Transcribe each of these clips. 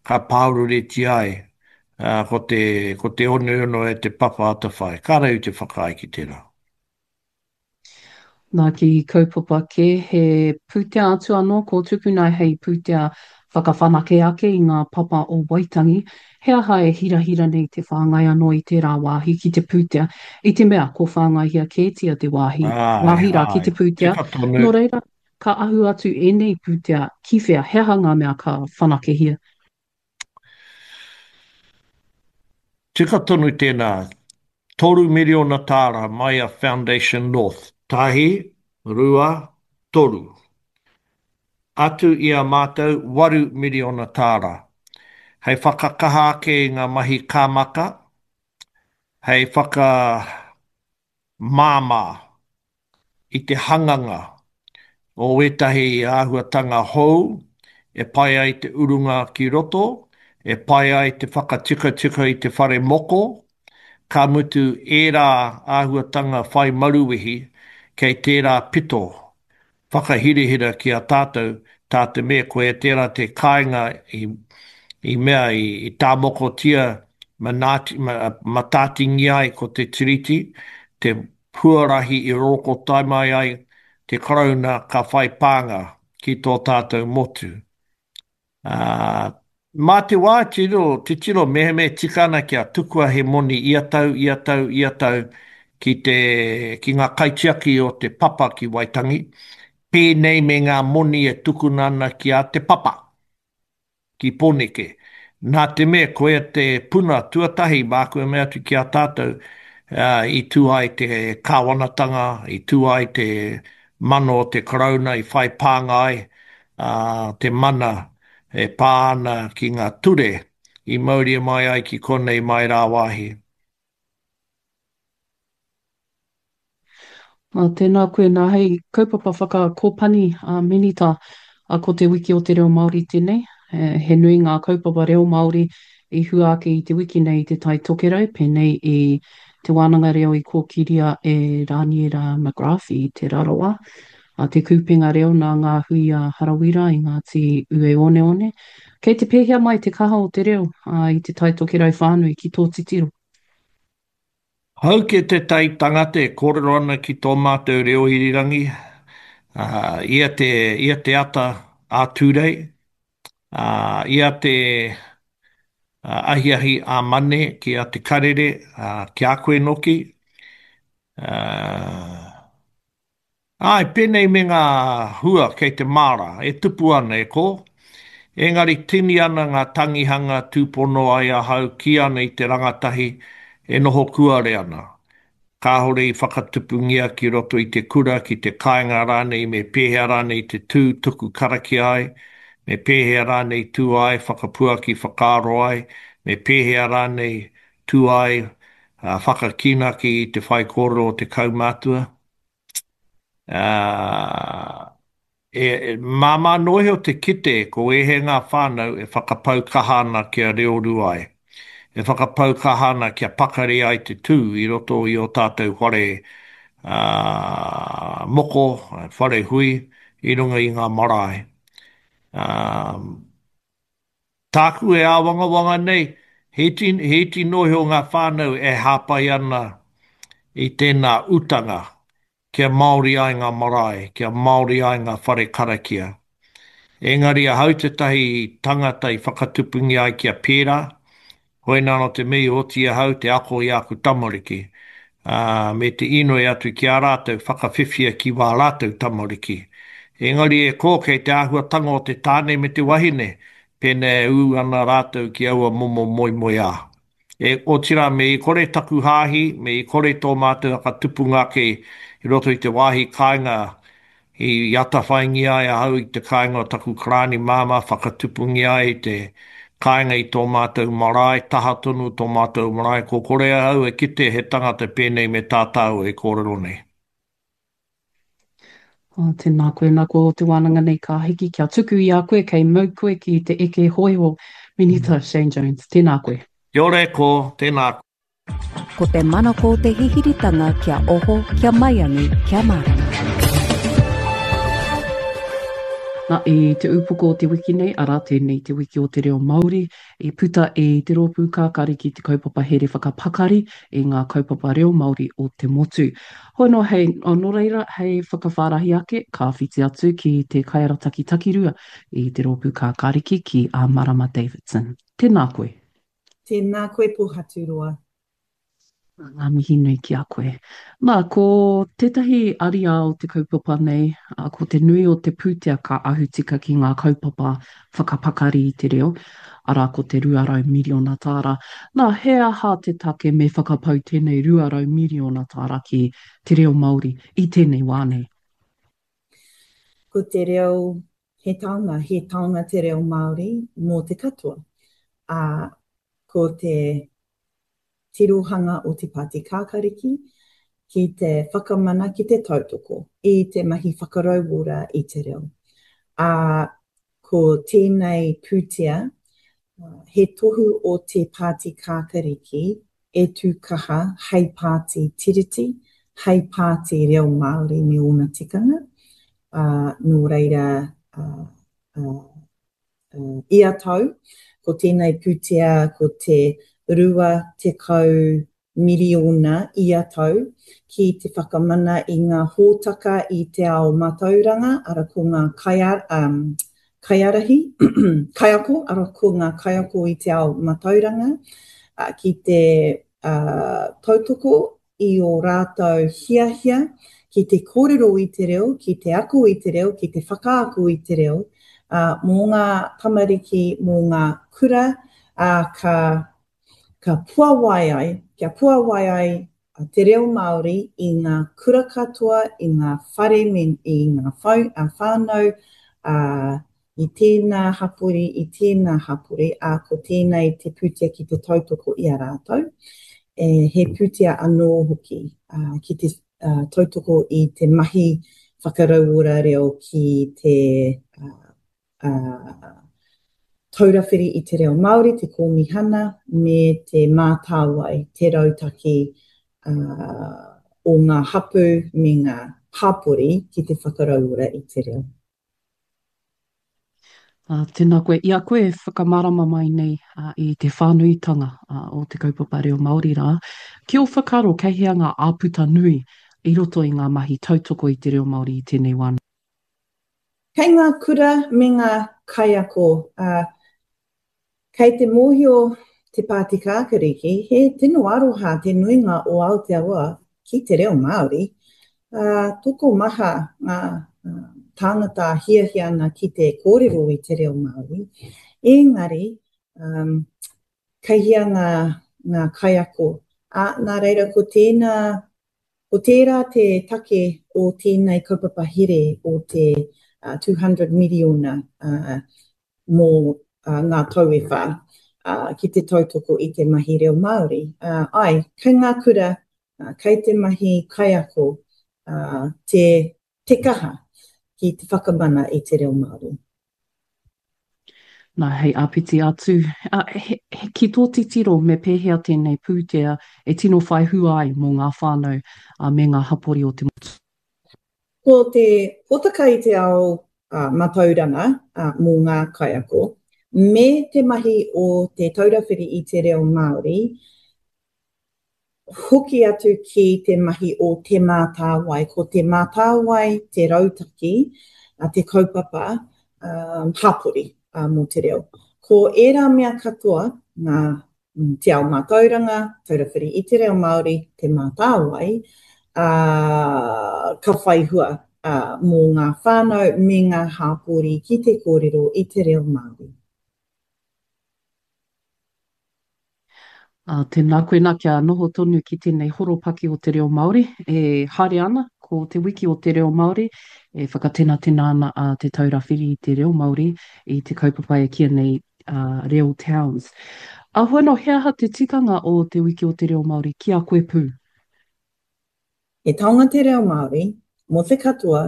Ka pāoreretia ai, ā, ko te, ko te oneone e te papa atawhai. Kāre au i te whakaae ki tērā. Nā ki kaupapa kē, he pūtea atu anō ko tukuna hei pūtea whakawhanake ake i ngā papa o Waitangi. He aha e hirahira nei te whāngai anō i tērā wāhi ki te pūtea, i te mea ko whāngaihia kētia te wāhi, Āe, wāhi rā ki āe, te pūtea, tika tonu. nō reira, ka ahu atu ēnei pūtea ki whea, he aha ngā mea ka whanakehia? Tika tonu tēnā, 3 miriona tāra mai a Foundation North. Tahi, rua, toru. Atu i a mātou 8 miriona tāra. Hei whakakaha ake i ngā mahi kāmaka, hei whakamāmā i te hanganga o ētahi āhuatanga hou e pai ai te urunga ki roto, e pai ai te whakatikatika i te whare moko, ka mutu ērā āhuatanga whai maruwehi kei tērā pito whakahirahira ki a tātou, tā te mea koia tērā te kāinga i, i mea i, i tāmokotia manaati, ma, matātingia ai ko te Tiriti, te huarahi i rorokotae mai ai te Karauna ka whai pānga ki tō tātou motu. Ā, mā te wā tiro, titiro mehemea e tika ana kia tukua he moni ia tau, ia tau, ia tau ki te, ki ngā kaitiaki o te papa ki Waitangi, pēnei me ngā moni e tukuna ana ki a Te Papa. ki Pōneke. Nā te mea koia te puna tuatahi māku e mea atu ki a tātou, i tū ai te kāwanatanga, i tū ai te mana o te Karauna, i whai pānga ai te mana e pā ana ki ngā ture i mauria mai ai ki konei mai rāwāhi. Ā, tēnā koe nā hei kaupapa whakakōpani a Minita, ā, ko Te Wiki o te Reo Māori tēnei. He nui ngā kaupapa reo Māori i hua ake i te wiki nei i Te Tai Tokerau, pēnei i Te Wānanga Reo i kōkiria e Rāniera McGrath i Te Rarawa, a Te Kupenga Reo nā Ngā Hui a Harawira i Ngāti Ueoneone. Kei te pēhea mai te kaha o te reo, ā, i Te Tai Tokerau whānui ki tō titiro? Hau ke tētahi tangata e kōrero ana ki tō mātou reo irirangi, ā, ia te, ia te ata ā Tūrei, ā, ia te ahiahi ā Mane ki a Te Karere, ā, ki a koe noki, ā, Āe, pēnei me ngā hua kei te māra, e tupu ana, e kō. Engari tini ana ngā tangihanga tūpono ai ahau kī ana i te rangatahi e noho kuare ana. Kāore i whakatupungia ki roto i te kura, ki te kāinga rānei me pēhea rānei te tū tuku karakia ai, me pēhea rānei tū ai whakapuaki whakaaro ai, me pēhea rānei tū ai whakakīnaki i te whaikōrero o te kaumātua. Ā, e, māmā noa iho te kite ko ēhea ngā whānau e whakapau kaha ana kia reorua ai, e whakapau kaha ana kia pakari ai te tū i roto i ō tātou whare, ā, moko, whare hui i runga i ngā marae. Ā, tāku e āwangawanga nei, he iti, he iti noa iho ngā whānau e hāpai ana i tēnā utanga kia Māori ai ngā marae, kia Māori ai ngā whare karakia. Engari ahau tētahi tangata i whakatupungia ai kia pērā, hoina anō te mea i oti ahau te ako i āku tamariki, ā, me te inoi atu ki a rātou whakawhiwhia ki wā rātou tamariki. Engari e kō kei te āhuatanga o te tāne me te wahine, pēnā e ū ana rātou ki aua momo moemoeā. E, otirā, me i kore taku hāhi, me i kore tō mātou whakatupunga ake i roto i te wāhi kāinga i atawhaingia ai ahau i te kāinga o taku karāni māmā, whakatupungia ai i te kāinga i tō mātou marae, taha tonu tō mātou marae, ko kore ahau e kite he tangata pēnei me tā tāua e kōrero nei. Oh, tēnā koe, nā ko te wānanga nei ka hiki kia tuku i a koe, kei mau koe ki te eke hōiho, Minita Shane Jones. Tēnā koe. Kia ora e kō, tēnā koe. Ko te manako te hihiritanga kia oho, kia maiangi, kia mārama. Na, i te upoko o te wiki nei, arā tēnei te wiki o te reo Māori, i puta i te Rōpū Kākāriki te kaupapa here whakapakari i ngā kaupapa reo Māori o te motu. Hoi anō hei, nō reira, hei whakawhārahi ake, ka whiti atu ki te kaiarataki takirua i te Rōpū Kākāriki ki a Marama Davidson. Tēnā koe. Tēnā koe Pohaturoa. Ngā mihi nui ki a koe. Nā, ko tētahi ariā o te kaupapa nei, ko te nui o te pūtea ka ahu tika ki ngā kaupapa whakapakari i te reo, arā ko te 200 miriona tāra. Nā, he aha te take me whakapau tēnei 200 miriona tāra ki te reo Māori i tēnei wā nei? Ko te reo he taonga, he taonga te reo Māori mō te katoa. Ā, ko te tirohanga o Te Pāti Kākariki ki te whakamana, ki te tautoko i te mahi whakarauora i te reo. Ā, ko tēnei pūtea he tohu o Te Pāti Kākariki e tū kaha hei pāti Tiriti, hei pāti reo Māori me ōna tikanga, ā, nō reira, ā, ā, Ia tau, ko tēnei pūtea ko te 20 miriona ia tau ki te whakamana i ngā hōtaka i te ao mātauranga, ara ko ngā kaiārahi, kaiako, ara ko ngā kaiako i te ao mātauranga, ki te tautoko i ō rātou hiahia ki te kōrero i te reo, ki te ako i te reo, ki te whakaako i te reo, ā, mō ngā tamariki, mō ngā kura, ā, ka, ka puawai ai, kia puawai ai te reo Māori i ngā kura katoa, i ngā whare me, i ngā whānau, ā, i tēnā hapori, i tēnā hapori, ā, ko tēnei te pūtea ki te tautoko i a rātou. E, he pūtea anō hoki ā, ki te ā, tautoko i te mahi whakarauora reo ki te ā, ā, Taura Whiri i te Reo Māori, te Kōmihana, me te Mātāwai, te rautaki ā, o ngā hapū me ngā hapori ki te whakarauora i te reo. Ā, tēnā koe. I a koe e whakamārama mai nei i te whānuitanga o te kaupapa reo Māori rā, ki ō whakaaro kei hea ngā āputa nui i roto i ngā mahi tautoko i te reo Māori i tēnei wā? Kei ngā kura me ngā kaiako, ā, Kei te mōhio Te Pāti Kākariki he tino aroha te nuinga o Aotearoa ki te reo Māori, ā, tokomaha ngā tāngata hiahia ana ki te kōrero i te reo Māori, engari kei hea ngā, ngā kaiako, ā, nā reira ko tēnā, ko tērā te take o tēnei kaupapa here o te 200 miriona mō ngā tau e whā ki te tautoko i te mahi reo Māori. Āe, kei ngā kura, kei te mahi kaiako te, te kaha ki te whakamana i te reo Māori. Nā, hei āpiti atu, he, he, ki tō titiro me pēhea tēnei pūtea e tino whai hua ai mō ngā whānau me ngā hapori o te motu? Ko te hōtaka i te ao matauranga mō ngā kaiako, me te mahi o Te Taura Whiri i te Reo Māori, hoki atu ki te mahi o Te Mātāwai. Ko Te Mātāwai te rautaki, te kaupapa hapori mō te reo. Ko ērā mea katoa, ngā Te Ao Mātauranga, Taura Whiri i te Reo Māori, Te Mātāwai, ā, ka whai hua mō ngā whānau me ngā hāpori ki te kōrero i te reo Māori. Ā, tēnā koe nā kia noho tonu ki tēnei horopaki o te reo Māori e haere ana, ko Te Wiki o te Reo Māori e whakatenatena ana a Te Taura Whiri i te Reo Māori i te kaupapa e kīia nei a Reo Towns. Ahua no, he aha te tikanga o Te Wiki o te Reo Māori ki a koe pū? He taonga te reo Māori mō te katoa,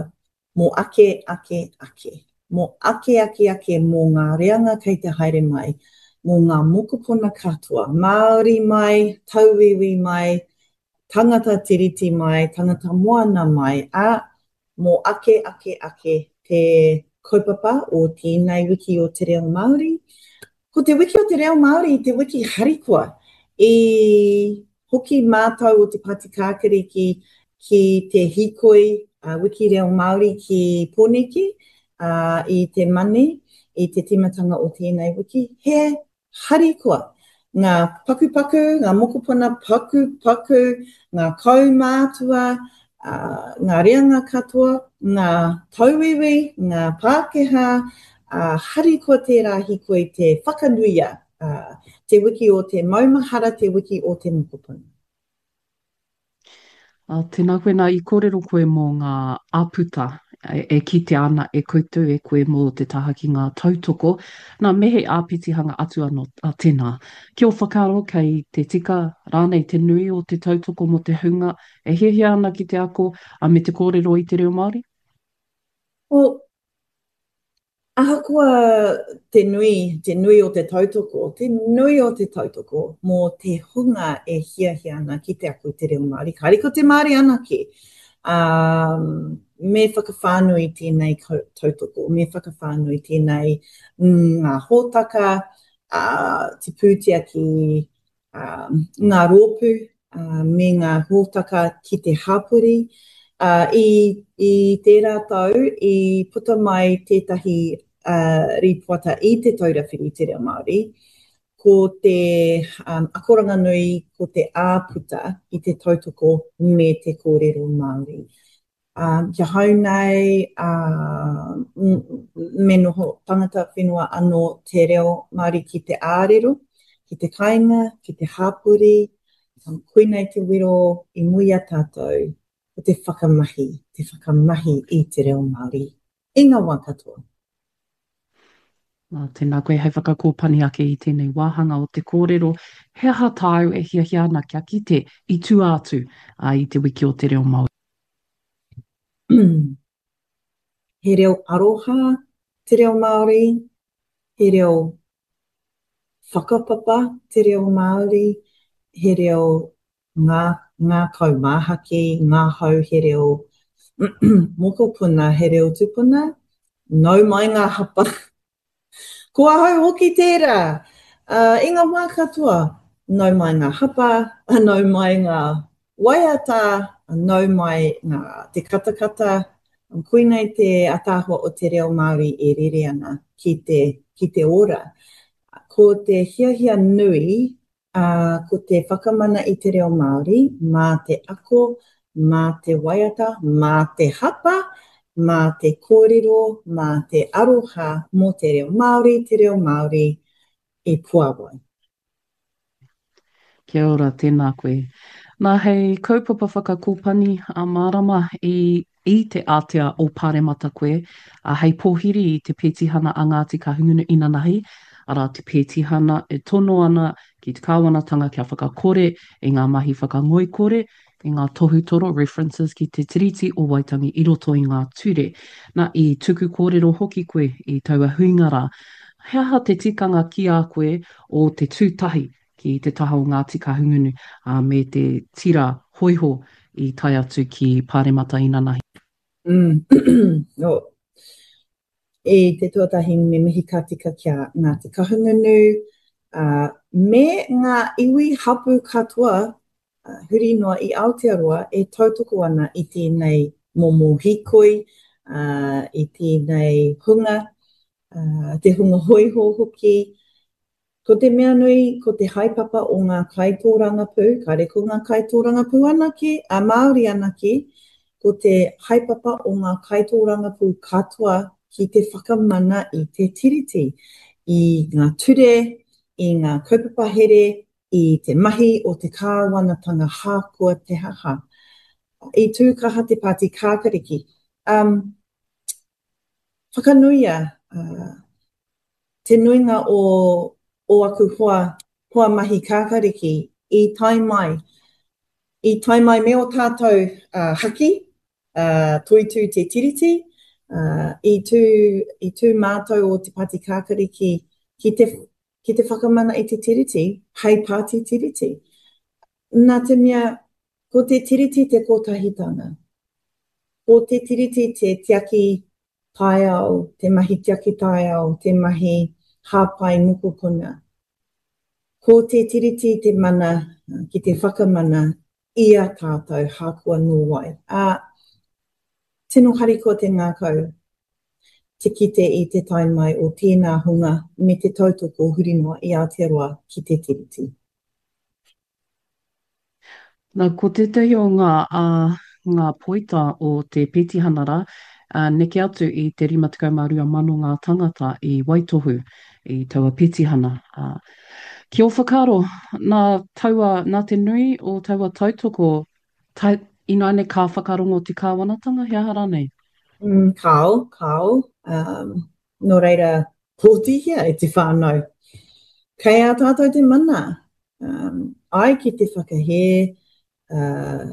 mō ake, ake, ake. Mō ake, ake, ake, mō ngā reanga kei te haere mai, mō ngā mokopuna katoa, Māori mai, tauiwi mai, tangata tiriti mai, tangata moana mai, ā, mō ake, ake, ake te. kaupapa o tēnei wiki o te reo Māori. Ko te wiki o te reo Māori te wiki harikoa. I hoki mātou o te Pāti Kākariki ki te hīkoi wiki reo Māori ki Pōneke i te Mane i te tīmatanga o tēnei wiki. He harikoa ngā pakupaku, ngā mokopuna pakupaku, ngā kaumātua, ngā reanga katoa, ngā tauiwi, ngā Pākehā, harikoa tērā hīkoi te whakanuia te wiki o te maumahara, te wiki o te mokopuna. Ā, tēnā koe, nā, i kōrero koe mō ngā āputa e kitea ana e koutou, e koe mō te taha ki ngā tautoko. Nā, me he āpitihanga atu anō, ā, tēnā. Ki ō whakaaro, kei te tika rānei te nui o te tautoko mō te hunga e hiahia ana ki te ako, ā, me te kōrero i te reo Māori? Well, Ahakoa te nui, te nui o te tautoko, te nui o te tautoko mō te hunga e hiahia ana ki te ako i te reo Māori, kāre ko te Māori anake, ā, me whakawhānui tēnei tautoko, me whakawhānui tēnei ngā hōtaka, ā, te pūtea ki ngā rōpū me ngā hōtaka ki te hapori. I, i tērā tau i puta mai tētahi rīpoata i Te Taura Whiri i te Reo Māori, ko te akoranga nui ko te āputa i te tautoko me te kōrero Māori. Ā, ki ahau nei, ā, me noho tangata whenua anō te reo Māori ki te ārero, ki te kāinga, ki te hapori, koinei te wero i mua i a tātou, ko te whakamahi, te whakamahi i te reo Māori i ngā wā katoa. Nā, tēnā koe hei whakakōpani ake i tēnei wāhanga o te kōrero, he aha tāu e hiahia ana kia kite i tua atu i te Wiki o te Reo Māori? He reo aroha te reo Māori, he reo whakapapa te reo Māori, he reo ngā, ngākau māhaki, ngahau, he reo mokopuna, he reo tupuna, nau mai ngā hapa. Ko ahau hoki tērā! I ngā wā katoa, nau mai ngā hapa, nau mai ngā waiata, nau mai ngā te katakata, koinei te ataahua o te reo Māori e rere ana ki te, ki te ora. Ko te hiahia nui Ā, ko te whakamana i te reo Māori mā te ako, mā te waiata, mā te hapa, mā te kōrero, mā te aroha mō te reo Māori, te reo Māori e puāwai. Kia ora, tēnā koe. Nā, hei kaupapa whakakōpani a Mārama i i te ātea o Pāremata koe, ā, hei pōhiri i te pētihana a Ngāti Kahungunu inanahi, arā, te pētihana e tono ana ki te kāwanatanga kia whakakore i ngā mahi whakangoikore, i ngā tohutoro, references, ki te Tiriti o Waitangi i roto i ngā ture. Na, i tuku kōrero hoki koe i taua huinga rā. He aha te tikanga ki a koe o te tū tahi ki te taha o Ngāti Kahungunu, ā, me te tira hōiho i tae atu ki Pāremata inanahi. Mm. Oh. I te tuatahi me mihi ka tika ki a Ngāti Kahungunu, ā, me ngā iwi hapū katoa huri noa i Aotearoa e tautoko ana i tēnei momo hīkoi, ā, i tēnei hunga, ā, te hunga hōiho hoki, Ko te mea nui, ko te haepapa o ngā kaitōrangapū, kāre ko ngā kaitōrangapū anake, a Māori anake, ko te haepapa o ngā kaitōrangapū katoa ki te whakamana i te Tiriti, i ngā ture, i ngā kaupapa here, i te mahi o te kāwanatanga hākoa te haha. I tū kaha te Pāti Kākariki. Um, whakanuia uh, Te nuinga o o aku hoa, hoa mahi kākariki i tae mai, i tae mai me o tātou haki, Toitū Te Tiriti, i tū, i tū mātou o Te Pāti Kākariki ki te, ki te whakamana i te Tiriti hei pāti Tiriti. Nā te mea, ko te Tiriti te kotahitanga. Ko te Tiriti te tiaki. taiao, te mahi tiaki taiao, te mahi hāpai mokopuna. Ko te Tiriti te mana ki te whakamana i a tātou hākoa nō wai. Ā, tino harikoa te ngākau te kite i te tae mai o tēnā hunga me te tautoko huri noa i Aotearoa ki te Tiriti. Na, ko tētahi o ngā, ā, ngā poita o te petihana rā, ā, neke atu i te 52 mano ngā tangata i waitohu i taua petihana. Ā, ki ō whakaaro, nā taua, nā te nui o taua tautoko, ta, ināianei ka whakarongo te kāwanatanga, he aha rānei? Mm, kāo, kāo. Um, nō reira, pōtihia e te whānau. Kei a tātou te mana. Um, ai ki te whakahē, uh,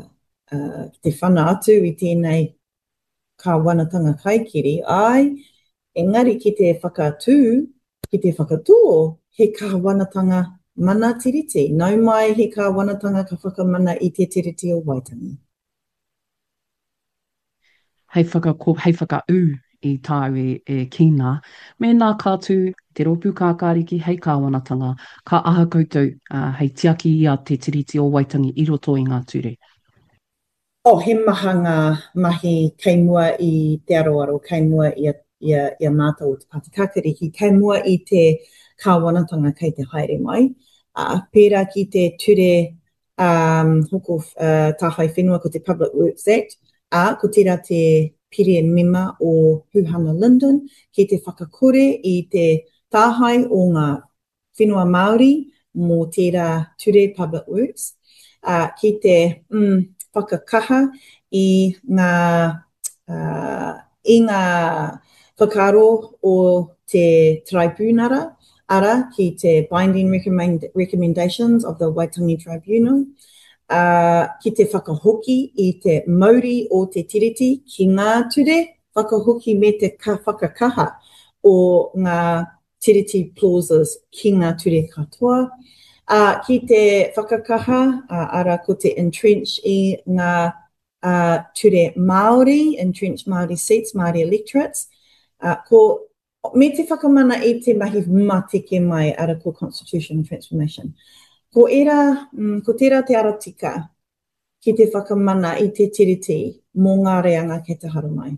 uh, ki te whana atu i tēnei kāwanatanga kaikiri, ai, engari ki te whakatū, ki te whakatō he kāwanatanga mana tiriti. Nau mai he kāwanatanga ka whakamana i te Tiriti o Waitangi. Hei whakako, hei whakaū i tāu e, e kī nā, mēnā ka tū Te Rōpū Kākāriki hei kāwanatanga, ka aha koutou, ā, hei tiaki i a Te Tiriti o Waitangi i roto i ngā ture? Oh, he maha ngā mahi kei mua i te aroaro, kei mua i a, i a, i a mātou o Te Pāti Kākāriki, kei mua i te kāwanatanga kei te haere mai. Ā, pērā ki te ture um, hoko uh, tāhae whenua ko te Public Works Act, ā, ko tērā te pire mema o Huhana Lyndon ki te whakakore i te tāhae o ngā whenua Māori mō tērā ture Public Works, ā, ki te mm, whakakaha i ngā, uh, i ngā whakaaro o te Taraipiunara, arā, ki te Binding Recommendations of the Waitangi Tribunal, ā, ki te whakahoki i te mauri o te Tiriti ki ngā ture whakahoki me te whakakaha o ngā Tiriti clauses ki ngā ture katoa, ā, ki te whakakaha, arā, ko te entrench i ngā ture Māori, entrench Māori seats, Māori electorates, ā, ko, me te whakamana i te mahi mateke mai, arā, ko constitutional transformation. Ko ērā, ko tērā te ara tika ki te whakamana i te Tiriti mō ngā reanga kei te haramai.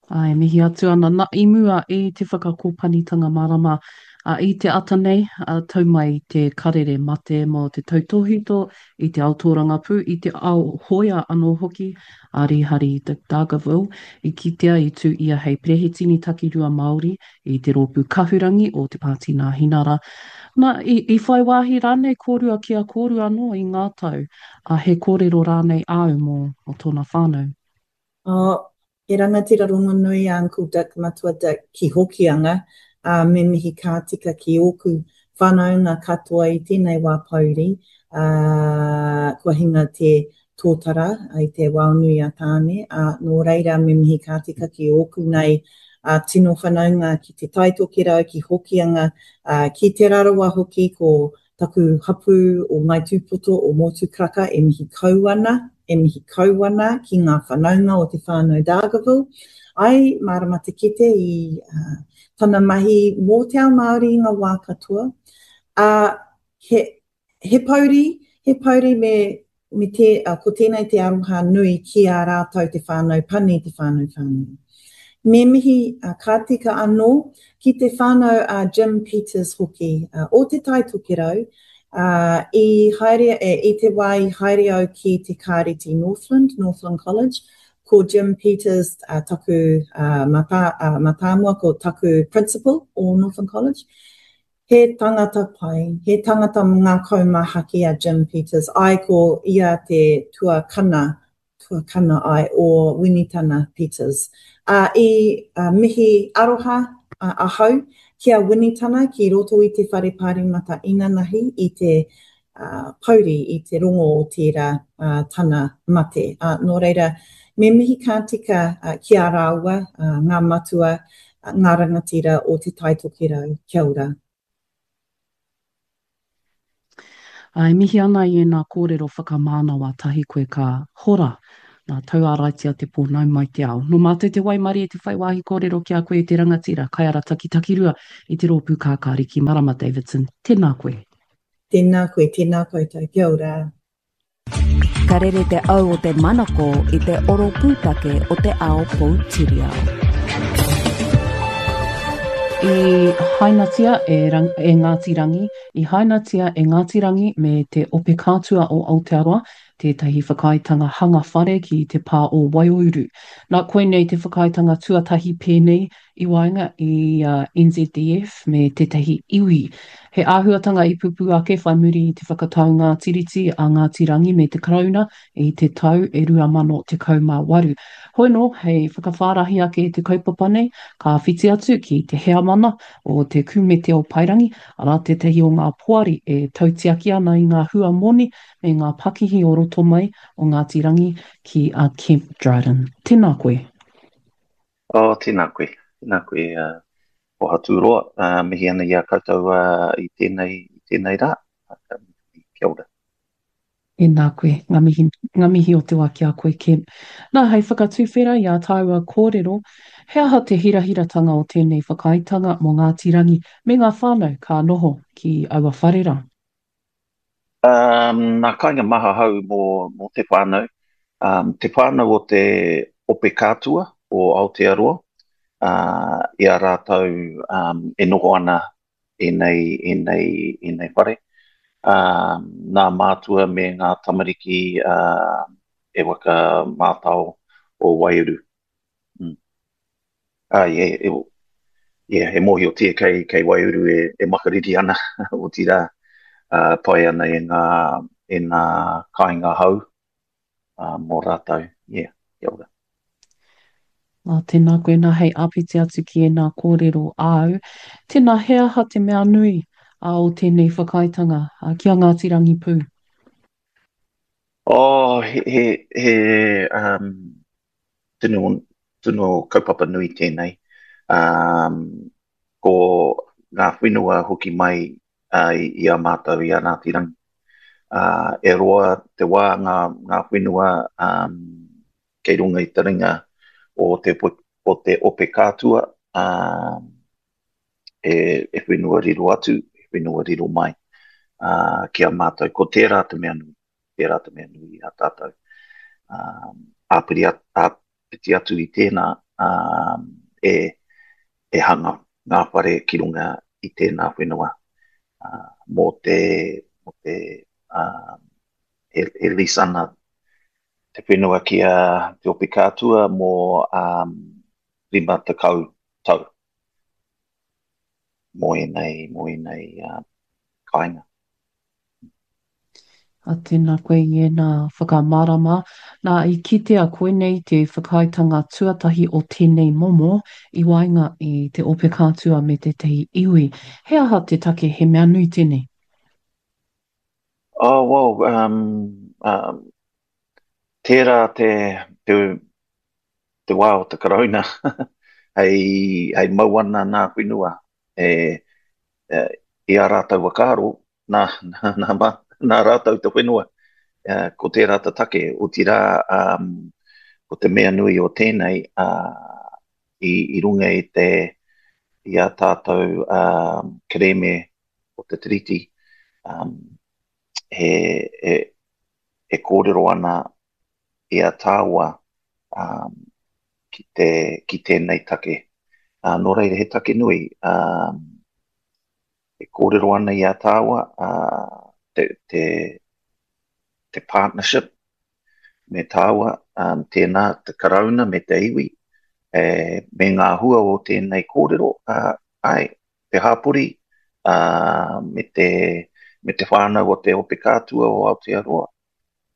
Ā, e mihi atu ana na, i mua i te whakakōpanitanga marama, ā, i te ata nei, ā, tau mai te karere mate mō te tautōhito i te ao tōrangapū, i te ao hoea anō hoki, a Rīhari Dargaville, i kitea i tū ia hei perehitini takirua Māori i te rōpū kahurangi o te Pāti Nāhinara. Na, i, i whai wāhi rānei kōrua ki a kōrua anō i ngā tau, ā, he kōrero rānei āu mō, mō tōna whānau? Oh, he rangatira rongonui a Uncle Dick, Matua Dick, ki Hokianga, ā, me mihi ka tika ki ōku whanaunga katoa i tēnei wā pōuri, ā, kua hinga te tōtara i te wao nui a Tāne, ā, nō reira me mihi ka tika ki ōku nei ā, tino whanaunga ki Te Tai Tokerau, ki Hokianga, ā, ki Te Rarawa hoki, ko Taku hapū o Ngāi Tūpoto o Motukaraka e mihi kau ana, e mihi kau ana ki ngā whanaunga o te whānau Dargaville. Ai, mārama te kite i tana mahi mō te ao Māori i ngā wā katoa. Ā, he, he pouri, he pouri me me te, ko tēnei te aroha nui ki a rātou te whānau pani, te whānau whānui. Me mihi ka tika anō ki te whānau a Jim Peters hoki o Te Tai Tokerau, i haere, i te wā i haere au ki te Kāreti Northland, Northland College, ko Jim Peters taku mātāmua, ko taku principal o Northland College. He tangata pai, he tangata ngakau mahaki a Jim Peters, ae ko ia te tuakana, tuakana ae, o Winitana Peters. A i mihi aroha ahau ki a Winitana ki roto i te whare pāremata inanahi i te pouri, i te rongo o tērā tana mate. Nō reira, me mihi ka tika ki a rāua, ngā matua, ngā rangatira o Te Tai Tokerau. Kia ora. E mihi ana i ēnā kōrero whakamānawa tahi koe ka hora. Nā, tauāraitia te pō, nau mai te ao. Nō mātou te waimarie te whai wāhi kōrero ki a koe e te rangatira, kaiarataki takirua i te rōpū Kākāriki, Marama Davidson. Tēnā koe. Tēnā koe, tēnā koutou. Kia ora. Ka rere te au o te manako i te oro pūtake o te ao poutiriao. I hainatia e, e Ngāti Rangi, i hainatia e Ngāti Rangi me te Ope Kātua o Aotearoa tētahi whakaaetanga hanga whare ki te pā o Waiouru. Nā, koinei te whakaaetanga tuatahi pēnei i waenga i a NZDF me tētahi iwi. He āhuatanga i pupū ake whai muri i te whakataunga Tiriti a Ngāti Rangi me te Karauna i te tau e 2018. Hoi nō, hei whakawhārahi ake i te kaupapa nei, ka whiti atu ki te heamana o te Kumete o Paerangi, arā tētahi o ngā poari e tautiaki ana i ngā hua moni me ngā pakihi o roto mai o Ngāti Rangi ki a Kemp Dryden. Tēnā koe. Oh, tēnā koe. Tēnā koe, uh, Pohaturoa. Uh, mihi ana i a koutou uh, i tēnei, i tēnei rā. Uh, kia ora. Tēnā koe, ngā mihi, ngā mihi o te wā ki a koe, Kemp. Nā, hei whakatuwhera i ā tāua kōrero, he aha te hirahiratanga o tēnei whakaaetanga mō Ngāti Rangi me ngā whānau ka noho ki aua whare rā? Um, nā kāinga maha hau mō, mō te whānau. Um, te whānau o te Ope Kātua o Aotearoa, uh, i a rātou um, e noho ana ēnei, ēnei, ēnei whare. Um, nā mātua me ngā tamariki uh, e waka mātao o Waiouru. Mm. Ai, e, e, yeah, e mōhiotia kei, kei Waiuru e, e makariri ana, otirā, uh, pai ana e ngā, e ngā kāinga hou uh, mō rātou. Yeah, kia ora. Nā, tēnā koe nā hei āpiti atu ki ēnā kōrero āu. Tēnā, he aha te mea nui a, o tēnei whakaaetanga a, ki a Ngāti Rangipū? Oh, he, he, he um, tino, tino kaupapa nui tēnei. Um, ko ngā whenua hoki mai uh, i, i a mātou i a Ngāti Rangi. Uh, e roa te wā ngā, ngā whenua um, kei runga i te ringa o te, o te ope kātua, um, e, e whenua riro atu, e whenua riro mai uh, ki a mātou. Ko tērā te mea nui, tērā te mea nui i a tātou. Um, āpiri, āpiti atu i tēnā, um, e, e hanga ngā whare ki runga i tēnā whenua uh, mō te, mō te uh, e, e lease ana te whenua ki a Te Ope Kātua mō um, 50 tau mō ēnei, mō ēnei uh, kāinga. A, tēnā koe i ēnā whakamārama. Nā, i kitea koinei te whakaaetanga tuatahi o tēnei momo i waenga i te Ope Kātua me tētahi iwi. He aha te take he mea nui tēnei? Oh, well, um, um, tērā te, te, te wā o te Karauna hei, hei mau ana nā whenua e, e, i a rātou whakaaro, nā, nā, nā, nā, nā rātou te whenua. E, ko tērā te take, otirā, um, ko te mea nui o tēnei, uh, i, i runga i te, i a tātou um, kerēme o te Tiriti, um, he, he, e kōrero ana i a tāua um, ki, te, ki tēnei take. Uh, nō reira, he take nui. Um, e kōrero ana i a tāua uh, te, te, te partnership me tāua, um, tēnā te karauna me te iwi, e, me ngā hua o tēnei kōrero, uh, ai, te hāpori, uh, me, te, me te whānau o te Ope Kātua o Aotearoa.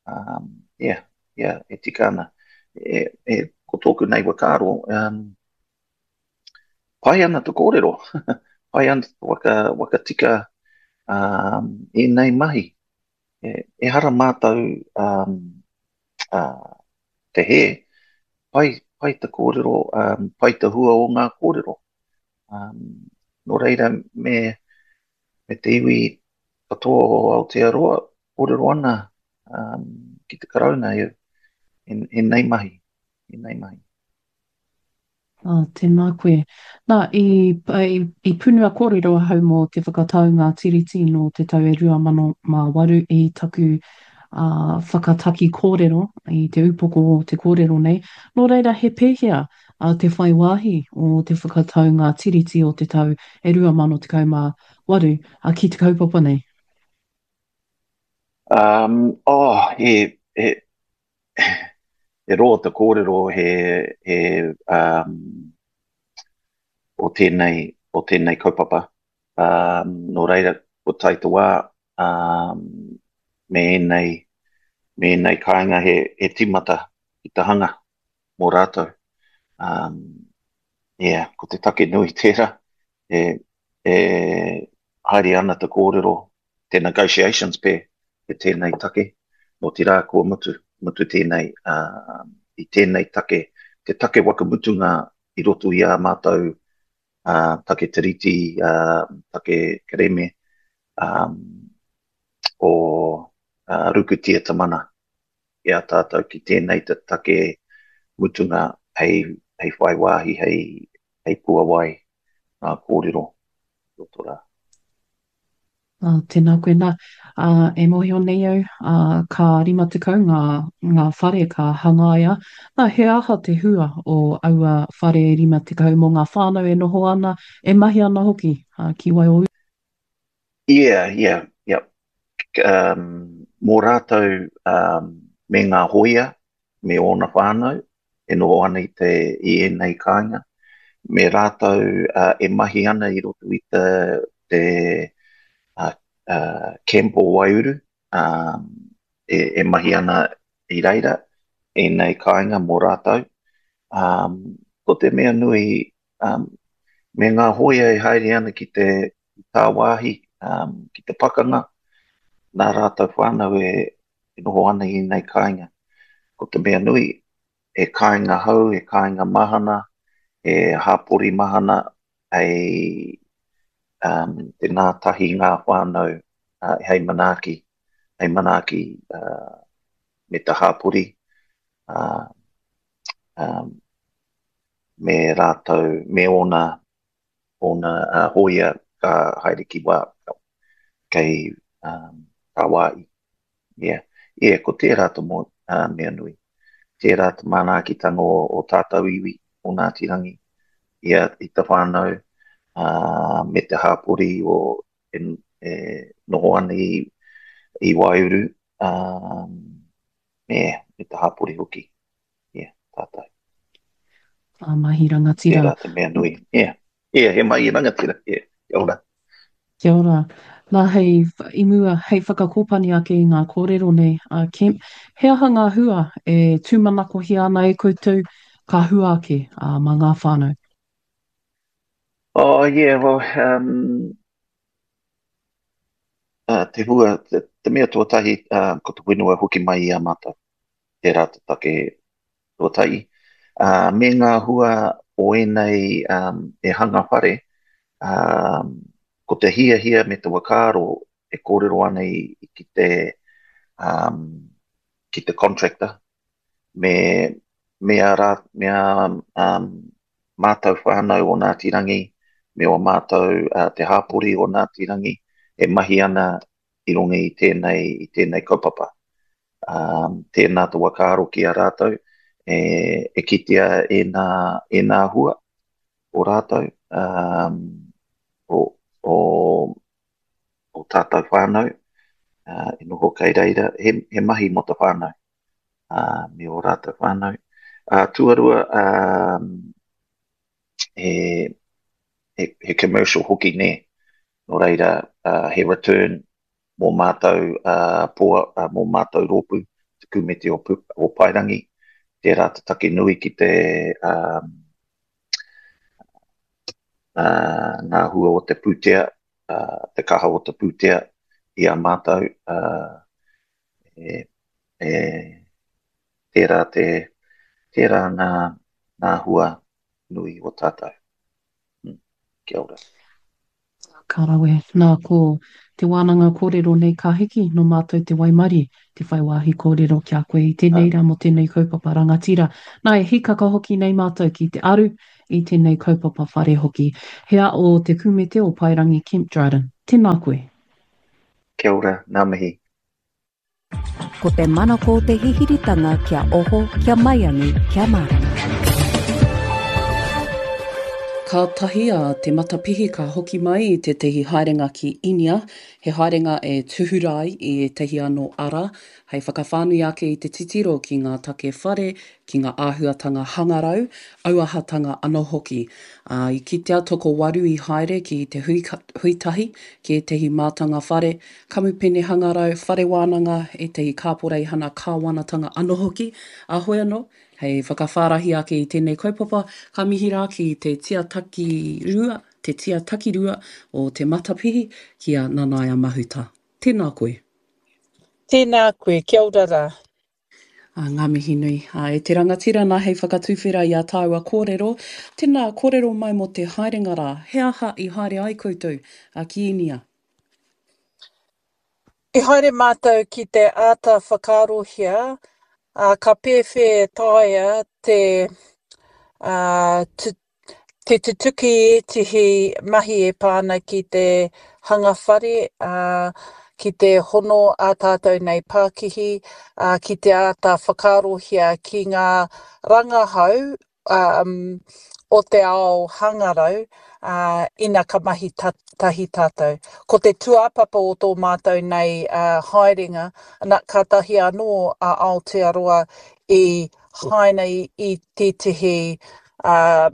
Um, yeah, yeah, e tika ana. E, e, ko tōku nei whakaaro, um, pai ana te kōrero, pai ana te waka, waka tika um, ēnei mahi. E, ehara mātou um, uh, te hē, pai, pai te kōrero, um, pai te hua o ngā kōrero. Um, nō reira, me, me te iwi katoa o Aotearoa, kōrero ana um, ki te Karauna, e, Ēnei mahi, ēnei mahi. Ā, tēnā koe. Nā, i, i, i punua kōrero ahau mō te whakataunga Tiriti nō te tau e 2008 i taku ā, whakataki kōrero i te upoko o te kōrero nei. Nō reira, he pēhea ā, te whai wāhi o te whakataunga Tiriti o te tau e 2018 ā, ki te kaupapa nei? Um, oh, he, he, he roa te kōrero he, he, um, o tēnei, o tēnei kaupapa. Um, nō reira, ko tae te wā, um, me ēnei, me ēnei kāinga he, he tīmata ki te hanga mō rātou. Um, yeah, ko te take nui tērā, e, e haere ana te kōrero, te negotiations pē, te tēnei take, otirā kua mutu, mutu tēnei, uh, i tēnei take, te take waka mutunga i roto i ā mātou uh, take tiriti, uh, take kereme, um, o uh, Rukutia Te Mana i a tātou ki tēnei te take mutunga hei, hei whai wāhi, hei, hei puawai ngā kōrero roto rā. Ā, tēnā koe. Nā, ā, e mōhio nei au, ā, ka 50 ngā, ngā whare ka hangaia. Nā, he aha te hua o aua whare 50 mō ngā whānau e noho ana, e mahi ana hoki, ā, ki Waiō? Yeah, yeah, yep. Um, mō rātou um, me ngā hōia, me ōna whānau e noho ana i, te, i ēnei kāinga, me rātou uh, e mahi ana i roto i te, te uh, uh, camp o Waiuru, um, e, e mahi ana i reira, ēnei kāinga mō rātou. Um, ko te mea nui, um, me ngā hōia e haere ana ki te tāwāhi, um, ki te pakanga, nā rātou whānau e, e noho ana i ēnei kāinga. Ko te mea nui, he kāinga hou, he kāinga mahana, he hāpori mahana, hei um, te ngātahi ngā whānau uh, hei manaaki, hei manaaki uh, me te hāpori, uh, um, me rātou, me ōna, ōna uh, hōia ka haere ki wā, kei um, tāwāhi. Yeah. Yeah, ko tērā te mo, uh, mea nui. Tērā te manaakitanga o, o tātou iwi, o Ngāti Rangi, ia, i te whānau, uh, me te hāpori o, e, e noho ana i, i Waiuru, um, me, me te hāpori hoki. Yeah, tātou. Ngā mahi rangatira. Tērā te mea nui. Yeah. Yeah, he mahi rangatira. Yeah. Kia ora. Kia ora. Nā, hei, i mua, hei whakakōpani ake i ngā kōrero nei, a Kemp, he aha ngā hua e tūmanakohia ana e koutou ka hua ake ā, mā ngā whānau? Oh, yeah, well, um, uh, te hua, te, te mea tuatahi, uh, ko te whenua hoki mai i a mātou. Tērā te take tuatahi. Ā, me ngā hua o ēnei um, e hanga whare, um, ko te hiahia me te whakaaro e kōrero ana i, ki te, um, ki te contractor, me, me a, rā, me a um, mātou whānau o Ngāti Rangi, me o mātou uh, te hāpori o Ngāti Rangi, e mahi ana i runga i tēnei, i tēnei kaupapa. Um, tēnā te whakaaro ki a rātou, e, e kitea ēnā, ēnā hua o rātou, um, o, o, o tātou whānau, uh, e noho kei reira, he, he mahi mō te whānau, uh, me o rātou whānau. Uh, tuarua, um, he, he, he commercial hoki nē, nō reira, uh, he return mō mātou uh, poa, uh, mō mātou rōpū, te kūmeti o, o Paerangi, tērā te take nui ki te um, uh, ngā hua o te pūtea, uh, te kaha o te pūtea i a mātou, uh, e, e, tērā, te, tērā ngā, ngā hua nui o tātou. Mm. Kia ora. Ka rawe. Nā, ko te wānanga kōrero nei ka hiki, nō mātou te waimarie te whai wāhi kōrero ki a koe i tēnei rā mō tēnei kaupapa rangatira. Nā, e hīkaka hoki nei mātou ki te aru i tēnei kaupapa whare hoki. He a o te kumete o Paerangi Kemp Dryden. Tēnā koe. Kia ora, ngā mihi. Ko te manako te hihiritanga kia oho, kia maiangi, kia mārama. Kātahi a Te Matapihi ka hoki mai i tētahi haerenga ki Inia, he haerenga e tūhura ai i ētahi anō ara hei whakawhānui ake i te titiro ki ngā take whare, ki ngā āhuatanga hangarau, auahatanga anō hoki. Ā, i kitea tokowaru i haere ki te hui, hui tahi ki ētahi mātanga whare, kamupene hangarau, whare wānanga, ētahi kāporeihana kāwanatanga anō hoki, ā, hoi anō, hei whakawhārahi ake i tēnei kaupapa, ka mihi rā ki te tia takirua, te tia takirua o Te Matapihi, ki a Nanaia Mahuta. Tēnā koe. Tēnā koe, kia ora rā. Ā, ngā mihi nui. Ā, e te rangatira nā hei whakatuwhera i ā tāua kōrero, tēnā, kōrero mai mō te haerenga rā, he aha i haere ai koutou, ā, ki Īnia? I haere mātou ki te āta whakaarohia, ā, ka pēwhea e taea te, ā, te tutuki ētehi mahi e pā ana ki te hanga whare, ā, ki te hono ā tātou nei pākihi, ā, ki te āta whakaarohia ki ngā rangahau um, o te ao hangarau, uh, ina ka mahi ta, tahi tātou. Ko te tūāpapa o tō mātou nei uh, haerenga, na, kātahi anō a Aotearoa i haina i, i tētehi uh,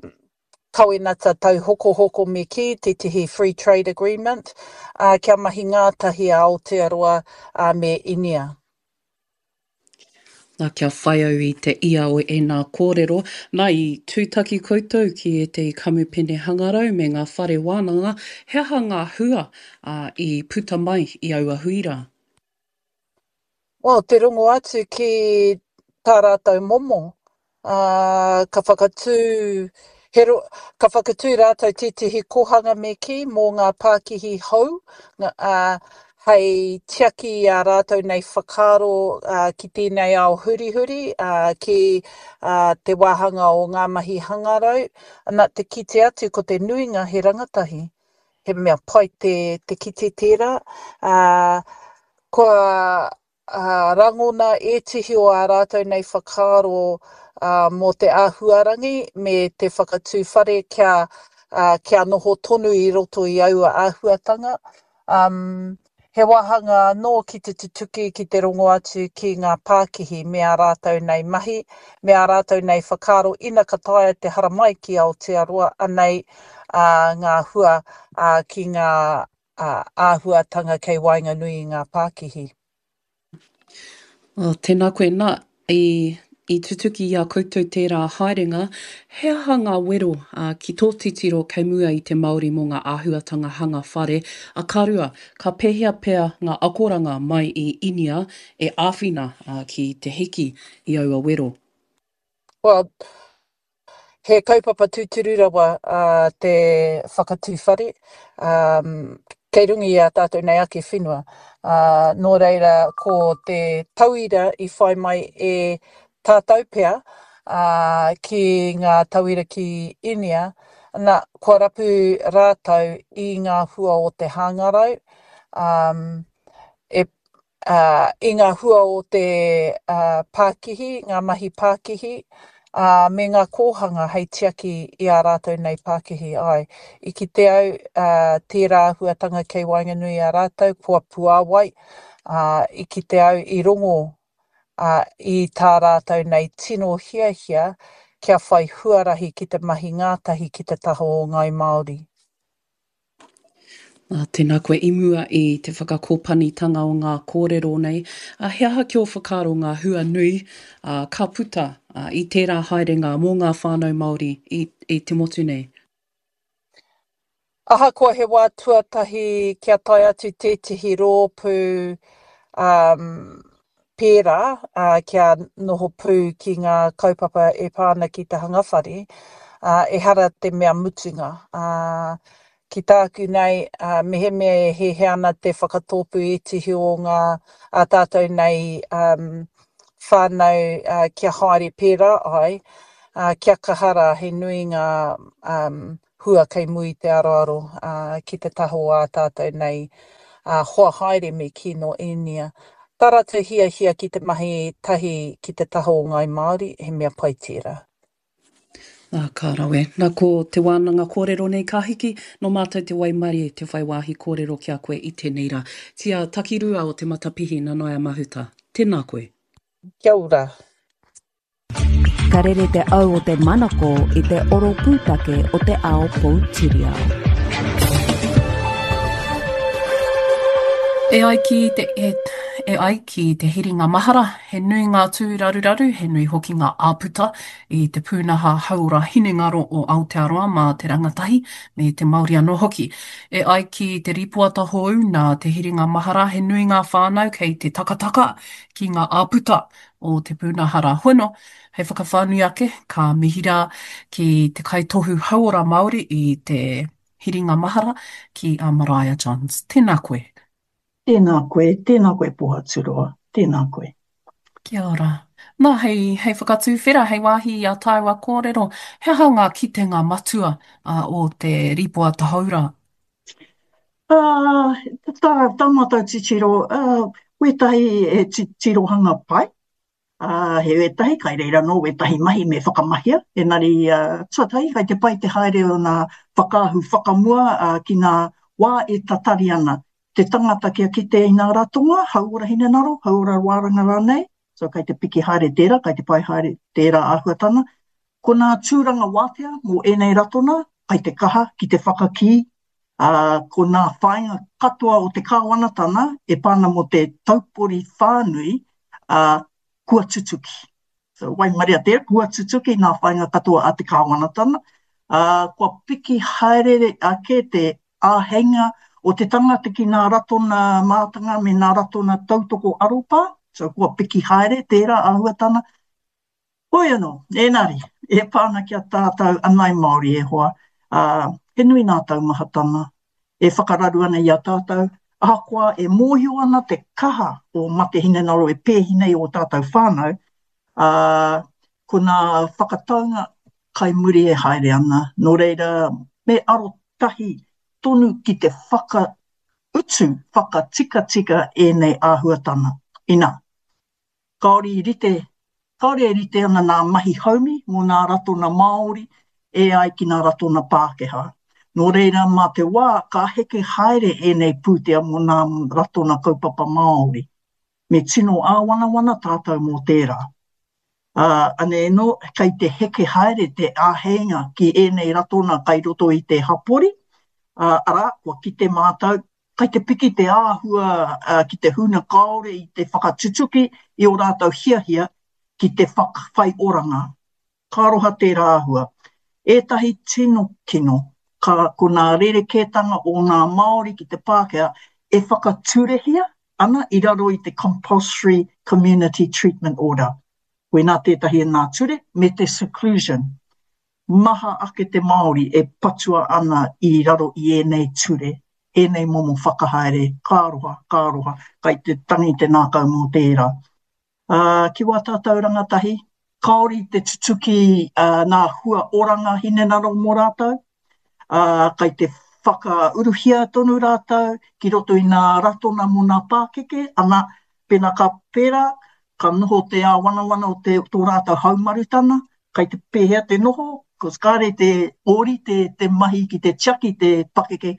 kawenata tauhokohoko me kī, tētehi free trade agreement, uh, kia mahi ngātahi a Aotearoa uh, me Inia. Nā, kia whai au i te ia o ēnā kōrero, nā, i tūtaki koutou ki ētehi kamupene hangarau me ngā whare wānanga, he aha ngā hua, ā, i puta mai i aua hui rā? Well, te rongo atu ki tā rātou momo, ā, ka whakatū, he ro, ka whakatū rātou tētehi kōhanga me kī mō ngā pākihi hou, ā, hei tiaki i ā rātou nei whakaaro ā, ki tēnei ao hurihuri, ā, ki ā, te wāhanga o ngā mahi hangarau. Ana, te kite atu ko te nuinga he rangatahi. He mea pai te, te kite tērā. Ā, kua ā, rangona ētehi o ā rātou nei whakaaro ā, mō te āhuarangi me te whakatū whare kia, ā, kia noho tonu i roto i aua āhuatanga. Um, he wāhanga anō ki te tutuki, ki te rongo atu ki ngā pākihi me ā rātou nei mahi, me ā rātou nei whakaaro ina ka taea te haramai ki Aotearoa, anei ā, ngā hua ā, ki ngā āhuatanga kei waenganui i ngā pākihi. Oh, tēnā koe. Nā, i, i tutuki i a koutou tērā haerenga, he aha ngā wero ā, ki tō titiro kei mua i te Māori mō ngā āhuatanga hanga whare, a ka rua, ka pēhea pea ngā akoranga mai i Inia e āwhina ā, ki te hiki i aua wero? Well, He kaupapa tūturu rawa te whakatū whare, kei runga i a tātou nei ake whenua. Nō reira, ko te tauira i whai mai e tātou pea ki ngā tauira ki Inia, na, kua rapu rātou i ngā hua o te hangarau, e ā, i ngā hua o te pākihi, ngā mahi pākihi, ā, me ngā kōhanga hei tiaki i ā rātou nei pākihi. Āe, i kite au, ā, tērā āhuatanga kei waenganui i a rātou, kua puāwai, ā, i kite au, i rongo, ā, i tā rātou nei tino hiahia kia whai huarahi ki te mahi ngātahi ki te taha o Ngāi Māori. Ā, tēnā koe i mua i te whakakōpanitanga o ngā kōrero nei, ā, he aha ki ō whakaaro ngā hua nui, ā, ka puta, ā, i tērā haerenga mō ngā whānau Māori i, i te motu nei? Ahakoa he wā tuatahi kia tae atu tētehi rōpū, ā, pērā, ā, kia noho pū ki ngā kaupapa e pā ana ki te hanga whare, ā, ehara te mea mutunga. Ā, Ki tāku nei, mehemea e hiahia ana te whakatōpū ētehi o ngā ā tātou nei whānau kia haere pērā ai, kia kaha rā, he nui ngā hua kei mua i te aroaro ki te taha o ā tātou nei hoa haere me kī nō Īnia. Tā rātou hiahia ki te mahi tahi ki te taha o Ngāi Māori, he mea pai tērā. Nā, ka rawe. Nā, ko te wānanga kōrero nei ka hiki, nō mātou te waimarie te whai wāhi kōrero ki a koe i tēnei rā. Tia Takirua o Te Matapihi, Nanaia Mahuta. Tēnā koe. Kia ora. Ka rere te au o te manako i te oro pūtake o te ao poutiriao. E ai ki te, e, e ai ki te hiringa mahara, he nui ngā tūraruraru, he nui hoki ngā āputa i te pūnaha hauora hinengaro o Aotearoa mā te rangatahi me te Māori anō hoki. E ai ki te rīpoata hou nā te hiringa mahara, he nui ngā whānau kei te takataka ki ngā āputa o te pūnaha rā hono, hei whakawhānui ake, ka mihi rā ki te kaitohu hauora Māori i te hiringa mahara ki a Maraea Johns. Tēnā koe. Tēnā koe, tēnā koe Pohaturoa, tēnā koe. Kia ora. Nā, hei, hei whakatūwhera, hei wāhi i a tāua kōrero, he aha ngā kitenga matua o te rīpoata hou rā? Ā, tā, tā mātou titiro, ā, wētahi he tirohanga pai, ā, he wētahi, kai reira anō wētahi mahi me whakamahia, engari, ā, tuatahi, kai te pai te haere o nā whakaahu whakamua, ā, ki nā wā e tatari ana te tangata kia kite i nā ratonga, hauora hinengaro, hauora wāranga rānei, so kai te piki haere tērā, kai te pai haere tērā āhuatanga. Ko nā tūranga wātea mō ēnei ratona, kai te kaha ki te whakakī, ā, ko nā whāinga katoa o te kāwanatana e pā ana mō te taupori whānui, ā, kua tutuki. So, waimaria tērā, kua tutuki nā whāinga katoa a te kāwanatana, ā, kua piki haere ake te āheinga o te tangata ki nā ratona mātanga me nā ratona tautoko aropā, so kua piki haere tērā āhuatana. Hoi anō, ēnari, e pā ana ki a tātou anai Māori e hoa, ā, he nui nā taumahatanga e whakararu ana i a tātou, ahakoa e mōhio ana te kaha o mate hinengaro e pēhi nei ō tātou whānau, ā, ko nā whakataunga kai muri e haere ana, nō reira, me arotahi tonu ki te whakautu, whakatikatika ēnei āhuatanga. Inā, kāore i rite, kāore e rite ana nā mahi haumi mō nā ratona Māori e ai ki nā ratona Pākehā. Nō reira, mā te wā ka heke haere ēnei pūtea mō nā ratona kaupapa Māori. Me tino āwanawana tātou mō tērā. Ā, anei anō, kei te heke haere te āheinga ki ēnei ratona kai roto i te hapori, ā, arā, kua kite mātou, kai te piki te āhua ki te huna kāore i te whakatutuki i ō rātou hiahia ki te whai oranga. Ka aroha tērā āhua. Ētahi tino kino, ka, ko nā rerekētanga o ngā Māori ki te Pākehā e whakaturehia ana i raro i te Compulsory Community Treatment Order. Koinā tētahi o nā ture, me te seclusion. Maha ake te Māori e patua ana i raro i ēnei ture, ēnei momo whakahaere, ka aroha, ka aroha, kai te tangi te nākau mō tērā. Ā, ki wā tātou rangatahi, kāore i te tutuki nā hua oranga hinengaro mō rātou, ā, kai te whakauruhia tonu rātou ki roto i nā ratona mō nā pākeke, ana, pēnā ka pērā, ka noho te āwanawana o te, tō rātou haumarutana, kai te pēhea te noho, cause kāre te ōrite te mahi ki te tiaki te pakeke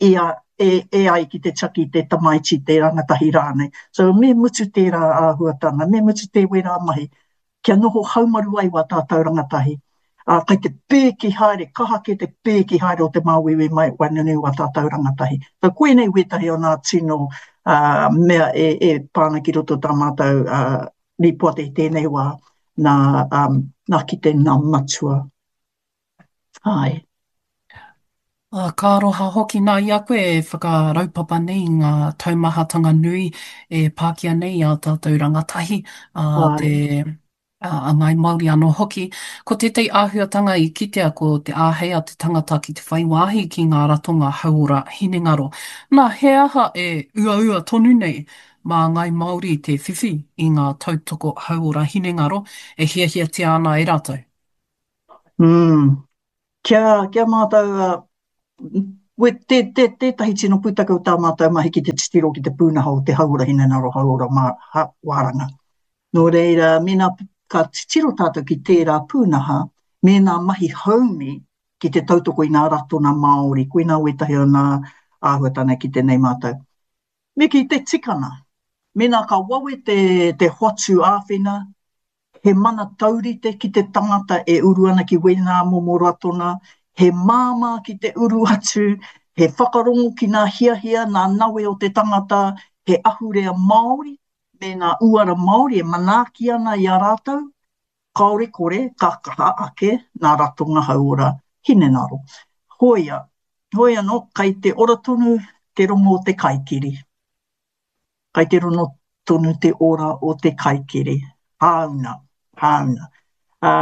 i a, e, e ai ki te tiaki te tamaiti, te rangatahi rānei. So me mutu tērā āhuatanga, me mutu te wērā mahi, kia noho haumaru ai wā tātou rangatahi. Ā, kai te pēki haere, kaha kē te pēki haere o te māuiui mai waenganui wā tātou rangatahi. So koinei wētahi o nā tino ā, mea e, e pā ana ki roto tā mātou ā, rīpoata i tēnei wā, nā, um, nā kite nā matua. Āe. Ā, ka aroha hoki nā i a koe e whakaraupapa nei i ngā taumahatanga nui e pākia nei i ā tātou rangatahi, ā, te Āe. A Ngāi Māori anō hoki. Ko tētahi āhuatanga i kitea ko te āhei a te tangata ki te whai wāhi ki ngā ratonga hauora hinengaro. Nā, he aha e uaua tonu nei mā Ngāi Māori te whiwhi i ngā tautoko hauora hinengaro e hiahiatia ana e rātou? Mm. Kia, kia mātau, uh, we, te, te, tētahi tino pūtake o tā mātau mahi ki te titiro ki te pūnaha o te hauora hinengaro, hauora mā, ha, wāranga. Nō reira, mēnā ka titiro tātou ki tērā pūnaha, me ngā mahi haumi ki te tautoko i ngā ratona Māori, koinā wētahi o ngā āhuatanga ki tēnei mātou. Me kī te tikanga, mēnā ka wawe te, te hoatu āwhina, he mana taurite ki te tangata e uru ana ki wēnā momo ratona, he māmā ki te uru atu, he whakarongo ki ngā hiahia, ngā nawe o te tangata, he ahurea Māori, me ngā uara Māori e manaaki ana i a rātou, kāore kore ka kaha ake ngā ratonga hauora hinengaro. Hoia, hoi anō, kai te ora tonu te rongo o te kaikiri. Kai te rono tonu te ora o te kaikiri. Hāuna, hāuna. Ā,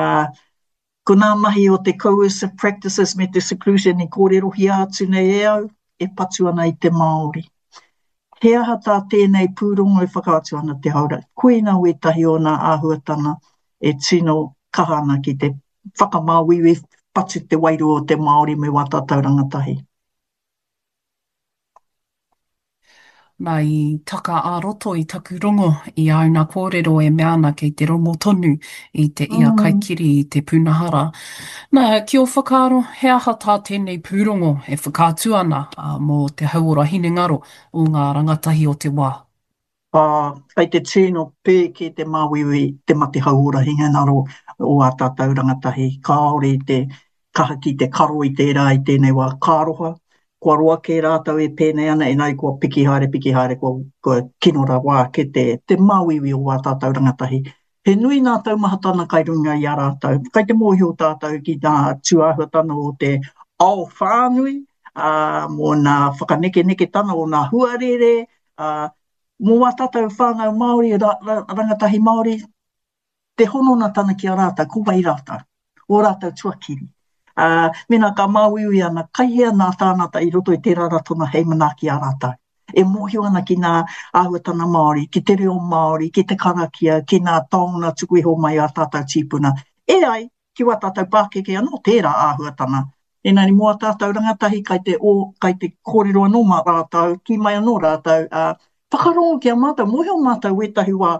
Ko ngā mahi o te coercive practices me te seclusion i kōrerohia atu nei e au, e patu ana i te Māori. He aha tā tēnei pūrongo e whakaatu ana te haora? Koina wētahi o ngā āhuatanga e tino kaha ana ki te whakamāuiui, patu te wairua o te Māori me wā tātou rangatahi. Nā, i taka ā-roto i taku rongo i āuna kōrero e mea ana kei te rongo tonu i te ia kaikiri i te pūnaha rā. Nā, ki ō whakaaro, he aha tā tēnei pūrongo e whakaatu ana mō te hauora hinengaro o ngā rangatahi o te wā? Ā, kei te tino pēke te māuiui, te mate hauora hinengaro o ā tātou rangatahi. Kāore i te kaha ki te karo i tērā i tēnei wā. Ka aroha, kua roa kē rātou e pēnei ana, engari kua piki haere, piki haere, kua, kua kino rawa ake te, te māuiui o ā tātou rangatahi. He nui ngā taumahatana kai runga i a rātou. Kai te mōhio tātou ki ngā tūāhuatana o te ao whānui, ā, mō ngā whakanekeneketana o ngā huarere, ā, mō wā tātou whānau Māori, ra, ra, rangatahi Māori, te hononatana ki a rātou, ko wai rātou, ō rātou tuakiri. Ā, mēnā ka māuiui ana, kai hea nā tāngata i roto i tērā ratonga hei manaaki i a rātou. E mōhio ana ki ngā āhuatanga Māori, ki te reo Māori, ki te karakia, ki ngā taonga tuku iho mai a tātou tīpuna. E ai, ki wā tātou pākeke anō tērā āhuatanga. Engari mō ā tātou rangatahi kai te o, kai te kōrero anō mā rātou, kī mai anō rātou, ā, whakarongo ki a mātou, mōhio mātou wētahi wā.